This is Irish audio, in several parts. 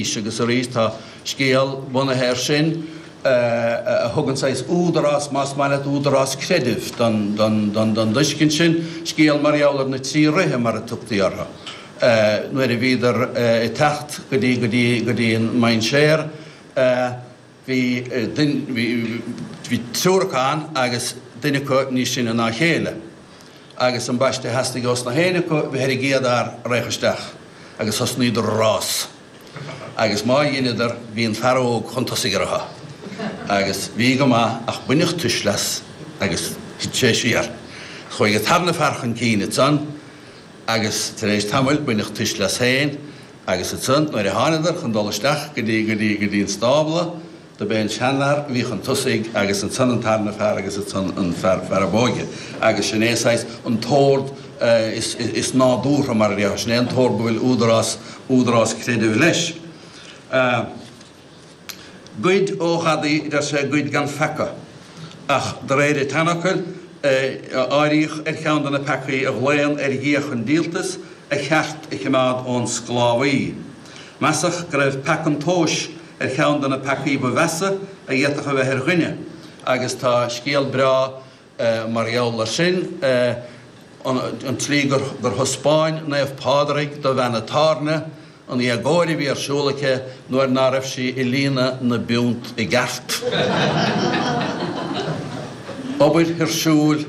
arís agus arís tá scéal bunaithe air sin a thugann saghas údarás, más maith leat, údarás creidimh don dtuiscint sin, scéal mar gheall ar na trí ríthe mar a tugtaí orthu nuair a bhíodar ag teacht go dtí go dtí go dtí an mainséar. Bhí bhí triúr acu ann agus duine acu níos sine ná a chéile. Agus ambaiste theastaigh ós na héinne acu bheith ar an gcéad fhear a raghadh isteach agus thosnaíodar a rás. Agus má dheineadar bhí an fear óg chun tosaigh orthu. Agus bhí go maith ach baineadh tuisle as agus thit sé siar. Chuaigh an tarna fear chun cinn ansan agus tar éis tamaill baineadh tuisle as féin Agus ansan nuair a thánadar chun dul isteach go dtí, go dtí, go dtí an stábla, do b'é an seanfhear a bhí chun tosaigh agus ansan an tarna fear agus ansan an fear, fear ab óige. Agus sin é saghas an t-ord is, is nádúrtha mar a déarfá, sin é an t-ord go bhfuil údarás, údarás creidimh leis. Goid ó ghadaí, deir sé, goid gan pheaca. Ach de réir an tseanfhocail, áiríodh ar cheann de na peacaí a ghlaonn ar Dhia chun díoltais, a cheart a chimeád ón sclábhaí. Measadh go raibh peaca an tomhais ar cheann de na peacaí ba mheasa a d'fhéadfadh a bheith ar dhuine, agus tá scéal breá Mar gheall air sin, an tslí gur thaispeáin Naomh Pádraig do bhean an tábhairne an éagóir a bhí ar siúl aici nuair ná raibh sí ag líonadh na bpiúnt i gceart. Obair thuirsiúil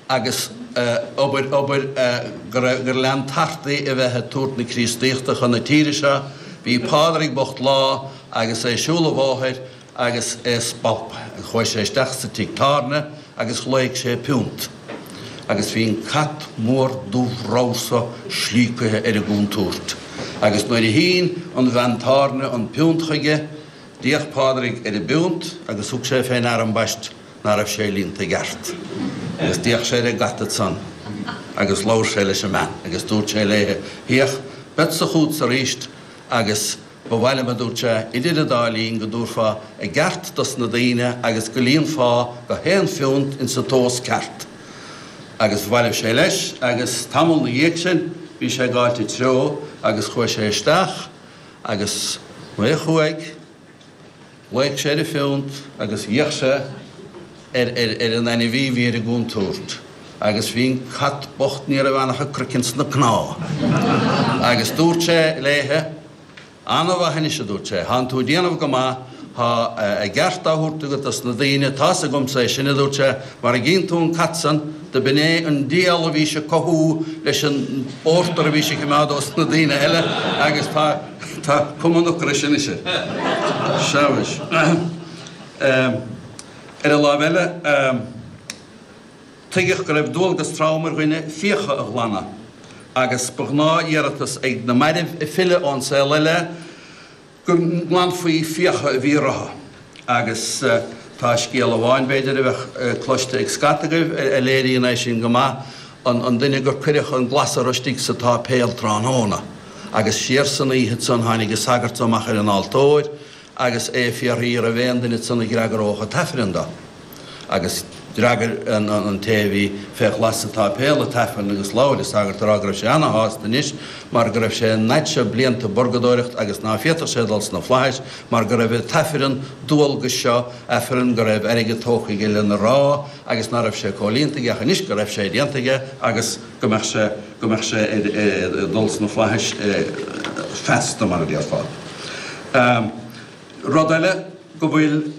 agus obair, obair gur lean tartaí a bheith ag tabhairt na Críostaíochta chun na tíre seo. Bhí Pádraig bocht lá agus é ag siúl an bhóthair agus é spalptha. Chuaigh sé isteach sa tigh tábhairne agus ghlaoigh sé piúnt. Agus bhí an cat mór dubh ramhar so slíocaithe ar an gcúntúirt. Agus nuair a shín an bhean tábhairne an piúnt chuige, d'fhéach Pádraig ar an bpiúnt agus thug sé fé ndeara ambaist ná raibh sé líonta i gceart. Agus d'fhéach sé ar an gcat ansan agus labhair sé leis an mbean agus dúirt sé léithe, Féach, beadsa chútsa aríst agus Ba mhaith liom, a dúirt sé, idir an dá linn go dtabharfá a gceart dos na daoine agus go líonfá gach aon phiúnt insa tomhas ceart. Agus bhailigh sé leis agus tamall 'na dhiaidh sin bhí sé ag gabháilt an treo agus chuaigh sé isteach agus nuair a chuaigh, ghlaoigh sé ar an phiúnt agus d'fhéach sé ar ar an ainmhí a bhí ar an gcúntúirt agus bhí an cat bocht ní raibh ann ach a craiceann 's na cnámha. Agus dúirt sé léithe, Ana-mhaith anois, a dúirt sé, thánn tú ag déanamh go maith, thá a gceart á thabhairt agat dos na daoine, tá's agamsa é sin, a dúirt sé, mar a gcíonn tú an cat san, do b'in é an diabhal a bhís ag cothú leis an bpórtar a bhís a chimeád ós na daoine eile agus tá, tá cuma an ocrais anois air. Sea mhuis. Ar an láimh eile, tuigeadh go raibh dualgas trom ar dhuine fiacha a ghlanadh, agus ba ghnáth-iarratas ag na mairbh ag filleadh ón saol eile go nglanfaí fiacha a bhí orthu. Agus tá scéal amháin, b'fhéidir, a bheadh cloiste ag scata agaibh a léiríonn é sin go maith, an duine gur cuireadh an glasra istigh sa tsáipéal tráthnóna, agus siar san oíche ansan tháinig an sagart amach ar an altóir, agus é ag fiafraí an raibh aon duine ansan a d'fhreagródh an t-aifreann dó. Agus d'fhreagair an té a bhí fé ghlas sa tsáipéal an t-aifreann agus labhair an sagart ag rá go raibh sé ana-shásta anois mar go raibh sé an fhaid seo blianta i bpurgadóireacht agus ná féadfadh sé dul sna flaithis mar go raibh an t-aifreann dualgais seo, aifreann go raibh airgead tógtha aige lena rá agus ná raibh sé comhlíonta aige ach anois go raibh sé déanta aige agus go mbeadh sé, go mbeadh sé ag dul sna flaithis feasta mar a déarfá. Rud eile go bhfuil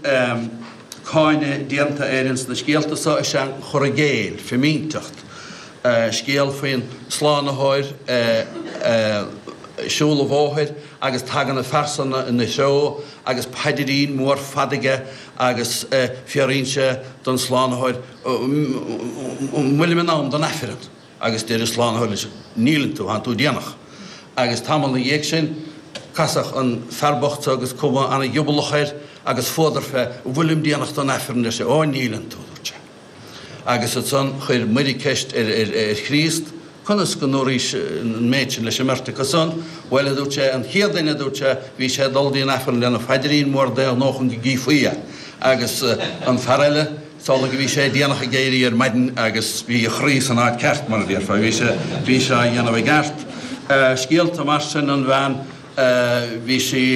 cáineadh déanta air ins na scéalta so is ea an cur i gcéill, fimínteacht. Scéal faoin Slánaitheoir ag siúl an bhóthair agus tagann an phearsana ina threo agus paidirín mór fada aige agus fiafraíonn sé don Slánaitheoir an bhfuilim in am don Aifreann? Agus deir an Slánaitheoir leis, Níleann tú, thánn tú déanach. Agus tamall 'na dhiaidh sin, casadh an fear bocht so agus cuma ana-ghiobalach air agus fuadar fé, An bhfuilim déanach don Aifreann? ar sé. Ó, níleann tú, dúirt sé. Agus ansan chuir Muire ceist ar Chríost, Conas go ndúraís an méid sin leis an mbeirt acu san? Bhuel, a dúirt sé, an chéad duine, a dúirt sé, bhí sé ag dul dtí an Aifreann lena phaidrín mór d'aon ghnó chun go gcífí é. Agus an fear eile, Is amhlaidh a bhí sé déanach ag éirí ar maidin agus bhí a chroí san áit ceart, mar a déarfá. Bhí sé, bhí sé á dhéanamh i gceart. Scéalta mar sin, an bhean, bhí sí.